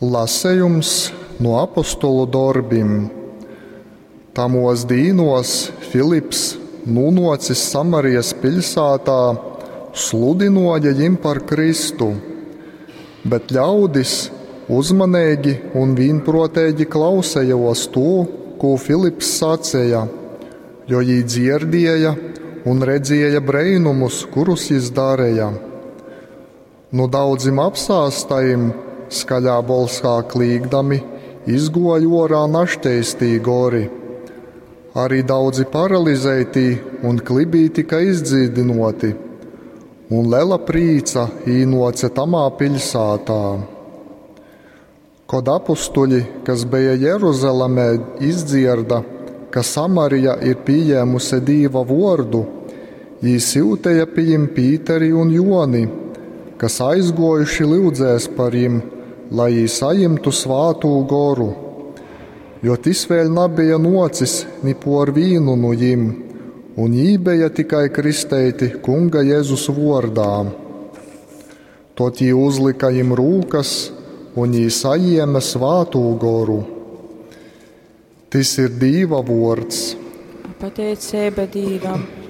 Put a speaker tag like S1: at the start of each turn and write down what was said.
S1: Lasejums nu apostolu dorbim. Tamuos dīnuos Filips, nūnuocis Samarijas piļsātā, sludinuoja jim par Kristu, bet ļaudis uzmaneigi un vīnpruoteigi klausejuos tū, kū Filips saceja, jo jī dzierdieja un redzieja breinumus, kurus jis dareja. Nu daudzim apsāstajim, skaļā bolsā klīgdami, izguoja uorā naškeistī gori. Arī daudzi paralizeitī un klibī tika izdzīdynoti, un lela prīca īnuoce tamā piļsātā. Kod apustuļi, kas beja Jeruzalemē, izdzierda, ka Samarija ir pījēmuse Dīva vuordu, jī syuteja pi jim Pīteri un Joni, kas aizguojuši lyudzēs par jim, lai jī sajimtu svātū goru, jo tis vēļ nabeja nuocis ni por vīnu nu jim, un jī beja tikai kristeiti Kunga Jēzus vuordā. Tot jī uzlika jim rūkas, un jī sajieme svātū goru. Tys ir Dīva vuords.
S2: Pateiceiba Dīvam.